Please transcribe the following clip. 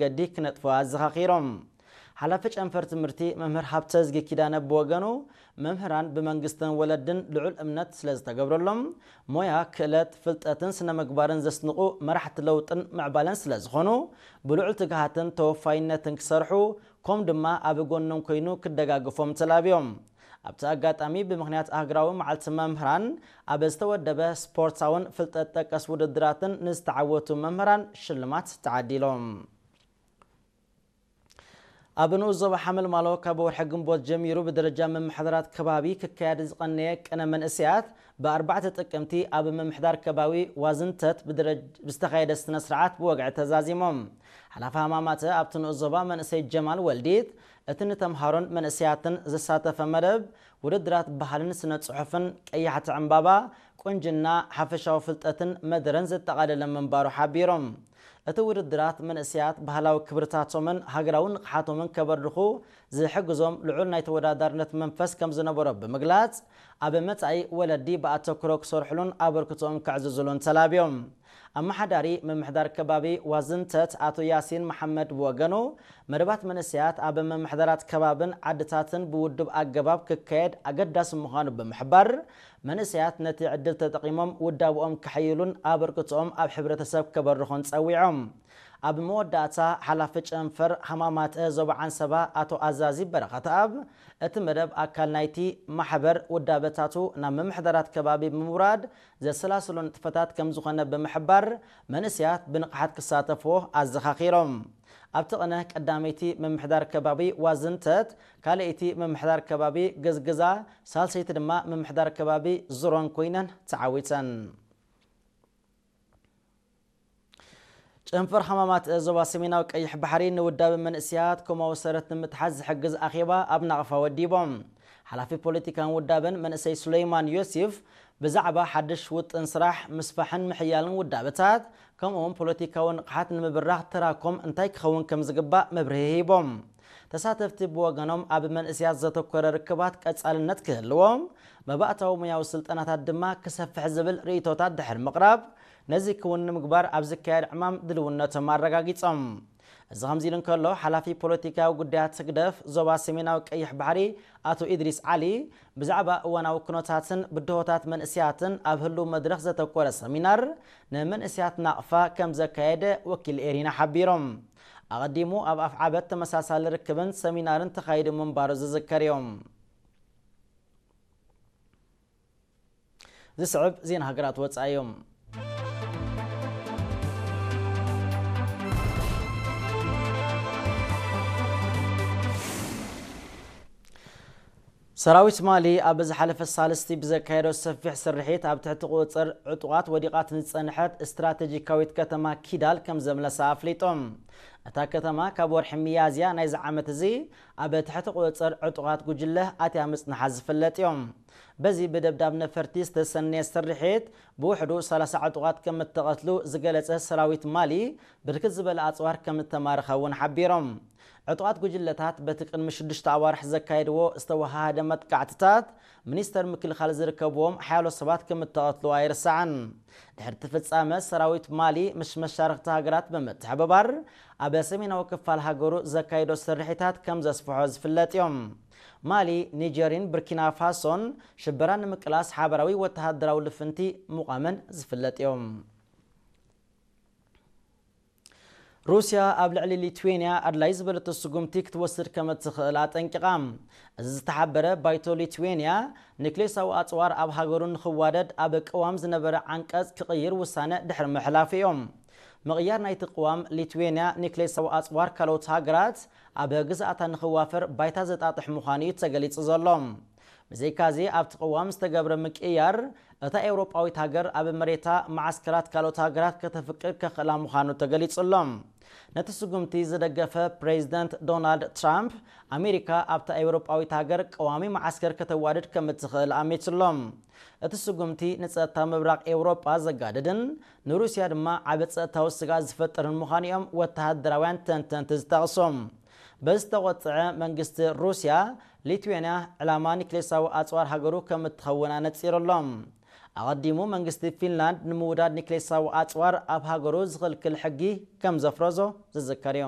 መገዲ ክነጥፉ ኣዘኻኺሮም። ሓላፊ ጨንፈር ትምህርቲ መምህር ሃብተዝጊ ኪዳነ ብወገኑ፣ መምህራን ብመንግስትን ወለድን ልዑል እምነት ስለ ዝተገብረሎም፣ ሞያ፣ ክእለት፣ ፍልጠትን ስነ ምግባርን ዘስንቑ መራሕቲ ለውጥን ምዕባለን ስለ ዝኾኑ፣ ብልዑል ትግሃትን ተወፋይነትን ክሰርሑ፣ ከም ድማ ኣብ ጎኖም ኮይኑ ክደጋግፎም ተላብዮም። ኣብቲ ኣጋጣሚ ብምኽንያት ሃገራዊ መዓልቲ መምህራን ኣብ ዝተወደበ ስፖርታውን ፍልጠት ጠቀስ ውድድራትን ንዝተዓወቱ መምህራን ሽልማት ተዓዲሎም። ኣብ ንኡስ ዞባ ሓመልማሎ ካብ ወርሒ ግንቦት ጀሚሩ ብደረጃ ምምሕዳራት ከባቢ ክካየድ ዝቐነየ ቅነ መንእሰያት ብኣርባዕተ ጥቅምቲ ኣብ ምምሕዳር ከባቢ ዋዝንተት ብዝተኻየደ ስነ ስርዓት ብወግዒ ተዛዚሞም። ሓላፊ ሃማማተ ኣብቲ ንኡስ ዞባ መንእሰይ ጀማል ወልዲት፣ እቲ ንተምሃሮን መንእሰያትን ዘሳተፈ መደብ ውድድራት ባህልን ስነ ጽሑፍን፣ ቀያሕቲ ዕምባባ፣ ቁንጅና፣ ሓፈሻዊ ፍልጠትን መደረን ዘጠቓለለ ምንባሩ ሓቢሮም። እቲ ውድድራት መንእሰያት ባህላዊ ክብርታቶምን ሃገራዊ ንቕሓቶምን ከበርድኹ ዝሕግዞም ልዑል ናይ ተወዳዳርነት መንፈስ ከም ዝነበሮ ብምግላጽ፣ ኣብ መጻኢ ወለዲ ብኣተኩሮ ክሰርሕሉን ኣበርክቶኦም ከዕዝዙሉን ተላብዮም። ኣመሓዳሪ ምምሕዳር ከባቢ ዋዝንተት ኣቶ ያሲን መሓመድ ብወገኑ፣ መደባት መንእሰያት ኣብ ምምሕዳራት ከባብን ዓድታትን ብውዱብ ኣገባብ ክካየድ ኣገዳሲ ምዃኑ ብምሕባር፣ መንእሰያት ነቲ ዕድል ተጠቒሞም ውዳብኦም ከሐይሉን ኣበርክቶኦም ኣብ ሕብረተሰብ ከበርኹን ጸዊዖም። ኣብ መወዳእታ፣ ሓላፊ ጨንፈር ሃማማተ ዞባ ዓንሰባ ኣቶ ኣዛዚ በረኸተኣብ፣ እቲ መደብ ኣካል ናይቲ ማሕበር ውዳበታቱ ናብ ምምሕዳራት ከባቢ ብምውራድ ዘሰላስሎ ንጥፈታት ከም ዝኾነ ብምሕባር፣ መንእሰያት ብንቕሓት ክሳተፍዎ ኣዘኻኺሮም። ኣብቲ ቅነ ቀዳመይቲ ምምሕዳር ከባቢ ዋዝንተት፣ ካልኣይቲ ምምሕዳር ከባቢ ገዝግዛ፣ ሳልሰይቲ ድማ ምምሕዳር ከባቢ ዙሮን ኮይነን ተዓዊተን። ጨንፈር ሃማማት ዞባ ሰሜናዊ ቀይሕ ባሕሪ ንውዳበ መንእሰያት ኮማዊ ሰረት ንምትሓዝ ዝሕግዝ ኣኼባ ኣብ ናቕፋ ወዲቦም። ሓላፊ ፖለቲካን ውዳበን መንእሰይ ሱለይማን ዮሴፍ ብዛዕባ ሓድሽ ውጥን ስራሕ፣ ምስፋሕን ምሕያልን ውዳበታት፣ ከምኡውን ፖለቲካዊ ንቕሓት ንምብራኽ ተራኮም እንታይ ክኸውን ከም ዝግባእ መብርሂ ሂቦም። ተሳተፍቲ ብወገኖም ኣብ መንእሰያት ዘተኮረ ርክባት ቀጻልነት ክህልዎም፣ መባእታዊ ሙያዊ ስልጠናታት ድማ ክሰፍሕ ዝብል ርእይቶታት ድሕሪ ምቕራብ፣ ነዚ ክውን ንምግባር ኣብ ዝካየድ ዕማም ድልውነቶም ኣረጋጊጾም። እዚ ከምዚ ኢሉ እንከሎ፣ ሓላፊ ፖለቲካዊ ጉዳያት ህግደፍ ዞባ ሰሜናዊ ቀይሕ ባሕሪ ኣቶ ኢድሪስ ዓሊ ብዛዕባ እዋናዊ ኩነታትን ብድሆታት መንእሰያትን ኣብ ህሉው መድረኽ ዘተኮረ ሰሚናር ንመንእሰያት ናቕፋ ከም ዘካየደ ወኪል ኤሪና ሓቢሮም። ኣቐዲሙ ኣብ ኣፍዓበት ተመሳሳሊ ርክብን ሰሚናርን ተኻይዱ ምንባሩ ዝዝከር እዮም። ዝስዕብ ዜና ሃገራት ወጻኢ እዮም። ሰራዊት ማሊ ኣብ ዝሓለፈ ሳልስቲ ብዘካየዶ ሰፊሕ ስርሒት ኣብ ትሕቲ ቁጽጽር ዕጡቓት ወዲቓት ንዝጸንሐት ስትራቴጂካዊት ከተማ ኪዳል ከም ዘምለሳ ኣፍሊጦም። እታ ከተማ ካብ ወርሒ ሚያዝያ ናይዚ ዓመት እዚ ኣብ ትሕቲ ቁጽጽር ዕጡቓት ጉጅለ ኣትያ ምጽንሓ ዝፍለጥ እዮም። በዚ ብደብዳብ ነፈርቲ ዝተሰነየ ስርሒት ብውሕዱ ሰላሳ ዕጡቓት ከም እተቐትሉ ዝገለጸ ሰራዊት ማሊ፣ ብርክት ዝበለ ኣጽዋር ከም እተማረኸ እውን ሓቢሮም። ዕጡቓት ጉጅለታት በቲ ቅድሚ ሽዱሽተ ኣዋርሕ ዘካየድዎ ዝተወሃሃደ መጥቃዕትታት፣ ሚኒስተር ምክልኻል ዝርከብዎም ሓያሎ ሰባት ከም እተቐትሉ ኣይርሳዕን። ድሕሪ እቲ ፍጻመ፣ ሰራዊት ማሊ ምስ መሻርኽቲ ሃገራት ብምትሕብባር ኣብ ሰሜናዊ ክፋል ሃገሩ ዘካየዶ ስርሒታት ከም ዘስፍሖ ዝፍለጥ እዮም። ማሊ፣ ኒጀርን ብርኪና ፋሶን ሽበራ ንምቅላስ ሓበራዊ ወተሃደራዊ ልፍንቲ ምቋመን ዝፍለጥ እዮም። ሩስያ ኣብ ልዕሊ ሊትዌንያ ኣድላይ ዝበለቶ ስጉምቲ ክትወስድ ከም እትኽእል ኣጠንቂቓ። እዚ ዝተሓበረ ባይቶ ሊትዌንያ፣ ኒክሌሳዊ ኣጽዋር ኣብ ሃገሩ ንኽዋደድ ኣብ ቅዋም ዝነበረ ዓንቀጽ ክቕይር ውሳነ ድሕሪ ምሕላፉ እዮም። ምቕያር ናይቲ ቅዋም፣ ሊትዌንያ ኒክሌሳዊ ኣጽዋር ካልኦት ሃገራት ኣብ ግዝኣታ ንኽዋፈር ባይታ ዘጣጥሕ ምዃኑ እዩ ተገሊጹ ዘሎ። ብዘይካዚ፣ ኣብቲ ቅዋም ዝተገብረ ምቅይያር፣ እታ ኤውሮጳዊት ሃገር ኣብ መሬታ መዓስከራት ካልኦት ሃገራት ከተፍቅድ ከኽእላ ምዃኑ ተገሊጹ ኣሎ። ነቲ ስጉምቲ ዝደገፈ ፕሬዚደንት ዶናልድ ትራምፕ፣ ኣሜሪካ ኣብታ ኤውሮጳዊት ሃገር ቀዋሚ መዓስከር ከተዋድድ ከም እትኽእል ኣሚቱ ኣሎ። እቲ ስጉምቲ ንጸጥታ ምብራቕ ኤውሮጳ ዘጋድድን ንሩስያ ድማ ዓቢ ጸጥታዊ ስግኣት ዝፈጥርን ምዃኑ እዮም ወተሃደራውያን ተንተንቲ ዝጠቕሱ። በዚ ዝተቖጥዐ መንግስቲ ሩስያ፣ ሊትዌንያ ዕላማ ኒክሌሳዊ ኣጽዋር ሃገሩ ከም እትኸውን ኣነጺሩ ኣሎ። ኣቐዲሙ መንግስቲ ፊንላንድ ንምውዳድ ኒክሌሳዊ ኣጽዋር ኣብ ሃገሩ ዝኽልክል ሕጊ ከም ዘፍረዞ ዝዝከር እዩ።